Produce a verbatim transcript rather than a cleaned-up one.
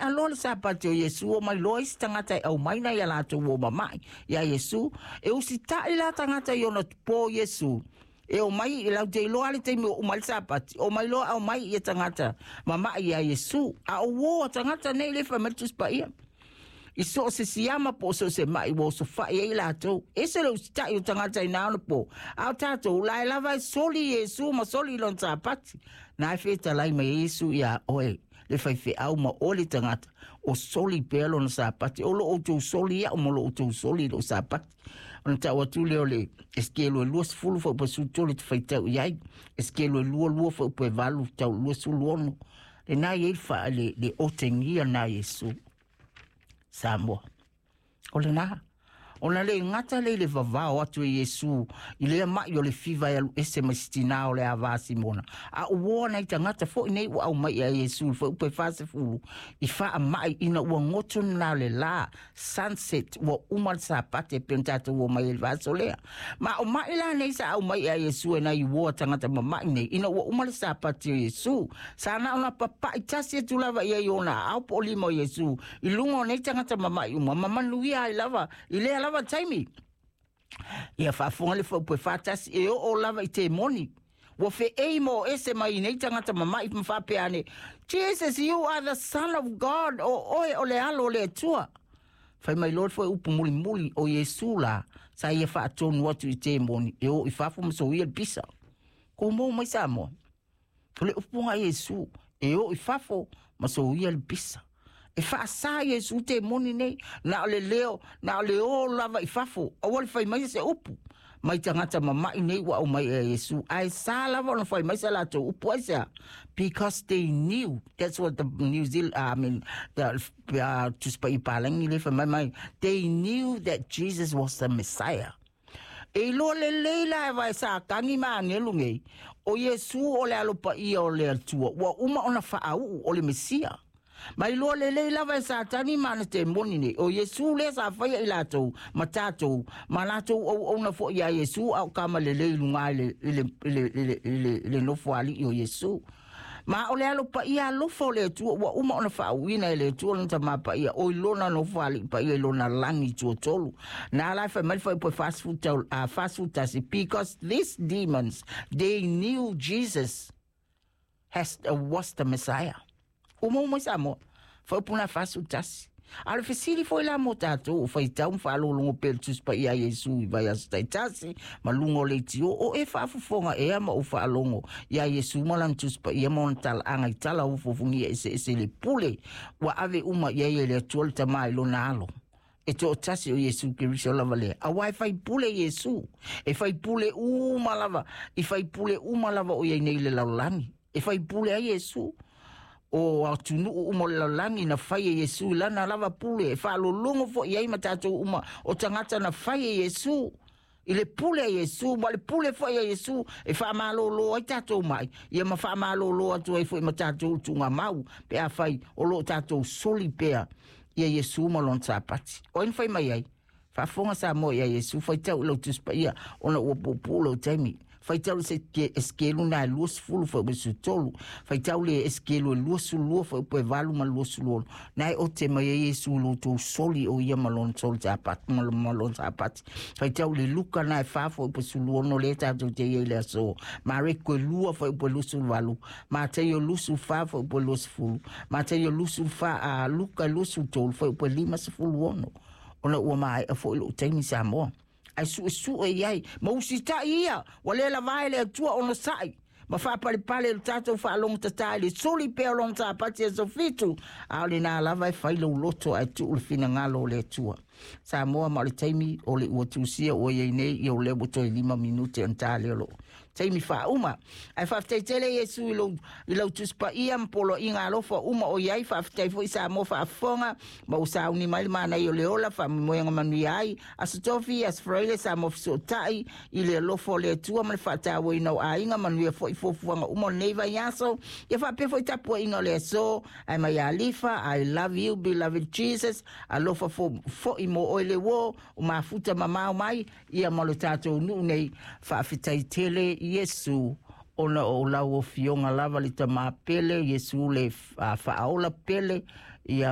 Loa le Sapati o Iesu, o mai loa isi tagata e aumai nai a latou uo mama'i iā Iesu. E usita'i la tagata i ona tupō Iesu e o mai i lau te iloa le taimi ua uma ai le Sapati, o mai loa aumai ia tagata mama'i iā Iesu. A o uō a tagata nei le fai mai le Tusi Paia i so o se siama po o so o se ma'i ua osofa'i ai i latou. Ese le usita'i o tagata i na ona pō, a o tatou la e lava e soli Iesu ma soli lona Sapati. Na e fetalai mai ai Iesu iā oe le faifeau ma oe le tagata o soli pea lona Sapati. O lo outou soli iaʻu ma lo outou soli i loʻu Sapati. Ona tau atu lea o le Esekielu e luasefulu fuaiupu e sefulu tolu e te faitau i ai. Esekielu e lua lua fuaiupu e valu tau luasefulu ono. Lena i ai le, fa, le, le otegia na Iesu. Samoa. O lena. Ona le gata lea i le vavao atu e Iesu i lea maʻi o le fiva e alu ese mai si tinā o le avā Simona, a ua nai tagata foʻi nei ua aumai iā Iesu i le fuaiupu e fasefulu i faamaʻi ina ua goto lena o le lā, sunset, ua uma le Sapati e pei ona tatou omai ai i le vaiaso lea. Ma o maʻi la nei sa aumai iā Iesu e nai uoa tagata mamaʻi nei ina ua uma le Sapati o Iesu, sa na ona papaʻi tasi atu lava i ai i ona aao po o lima o Iesu i luga o nei tagata mamaʻi uma ma manuia ai lava i lea lava taimi. Ia faafofoga le fuaiupu e fatasi e oo lava i temoni. Ua feei ma o ese mai i nei tagata mamaʻi ma faapea ane, Jesus, you are the Son of God, o oe o le Alo o le Atua. Fai mai loa le fuaiupu mulimuli o Iesu la, sa ia faatonu atu i temoni e o i fafo ma soia le pisa. Kou mou mai Samoa. O le upu a Iesu, e o i fafo ma soia le pisa. E faasā Iesu temoni nei, na o le leo, na o le o lava i fafo, aua le fai mai se upu mai tagata mamaʻi nei ua aumai e Iesu. Ae sa lava ona fai mai sa latou upu aisea? Because they knew, that's what the New Zealand, I mean, the uh, Tusi Paia Palagi le fai mai mai, they knew that Jesus was the Messiah. E iloa lelei la e vae Satani ma agelu nei, o Iesu o le Alo Paia o le Atua, ua uma ona faauu o le Mesia. Ma iloa lelei lava e Satani ma ana temoni nei, o Iesu lea sa faia i latou ma tatou, ma latou auauna foʻi iā Iesu a o kama lelei i luga i le, i le, i le, i le, i le, i le nofoalii o Iesu. Ma o le Alo Paia alofa o le Atua ua uma ona faauuina e le Atua lona Tamā Paia, o i lona nofoalii paia i lona lagi tuatolu. Na la e fai mai le fuaiupu e fasefulu tau, a fasefulu tasi, because these demons, they knew Jesus has, uh, was the Messiah. Uma uma i Samoa. Fuaiupu na fasefulu tasi. A o le fesili foi la mo tatou o faitau ma faalogologo pea i le Tusi Paia a Iesu i vaiaso taitasi ma luga o leitio, o e faafofoga ea ma ou faalogo iā Iesu ma lana Tusi Paia ma ona talaaga i tala ofuofugia eseese i le pule ua ave uma i ai e le Atua le Tamā i lona Alo e toatasi o Iesu Keriso lava lea. Auā e faipule Iesu, e faipule uma lava, i faipule uma lava o i ai nei i le lalolagi. E faipule ai Iesu. O atunuu uma o le lalolagi na fai e Iesu i lana lava pule, e faalologo foi i ai ma tatou uma o tagata na fai e Iesu i le pule a Iesu, ma le pule foi a Iesu e faamalōlō ai tatou mai, ia ma faamalōlō atu ai foi ma tatou i le tuugamau, pe afai o lo o tatou soli pea ia Iesu ma lona Sapati. O ai na fai mai ai? Faafofoga Samoa iā Iesu, faitau i lau Tusi Paia, ona ua puupuu lou taimi. Faitau le Esekielu na e luasefulu fuaiupu e sefulu tolu. Faitau le Esekielu e luasefulu lua fuaiupu e valu ma le luasefulu ono. Na e ote mai ai Iesu i lo outou soli o ia ma lona soli Sapati, ma ma lona Sapati. Faitau le Luka na e fa fuaiupu e sefulu ono lea tatou te i ai i le aso. Mareko e lua fuaiupu e luasefulu valu. Mataio luasefulu fa fuaiupu e luasefulu. Mataio luasefulu fa a Luka e luasefulu tolu fuaiupu e limasefulu ono. Ona ua maea foi lou taimi Samoa. Ae suesue i ai ma usitai ia, ua le lava e le Atua onosai ma faapalepale i lo tatou faalogotatā i le soli pea o lona Sapati aso fitu, a o lenā lava e fai lou loto ae tuu le finagalo o le Atua. Samoa, ma o le taimi o le ua tusia ua i ai nei, ia o lea ua toe lima minute ona ta lea o lou taimi faauma. Ae faafetai tele Iesu i lou, i lau Tusi Paia ma poloaiga alofa uma o i ai. Faafetai foi Samoa faafofoga ma ua sauni mai le manaia o le ola, faamoemoega manuia ai. Aso Tofi, Aso Faraile, Samoa fesootai i le alofa o le Atua ma le faatauaina o aiga, manuia foi fuafuaga uma o lenei vaiaso. Ia faapea foi tapuaiga o le aso, ae mai Alifa, I love you beloved Jesus, alofa foi mo oe le uo, o mafuta mamao mai, ia ma lo tatou nuu nei. Faafetai tele Iesu ona o lau afioga lava le Tamā pele, Iesu le Faaola pele, ia.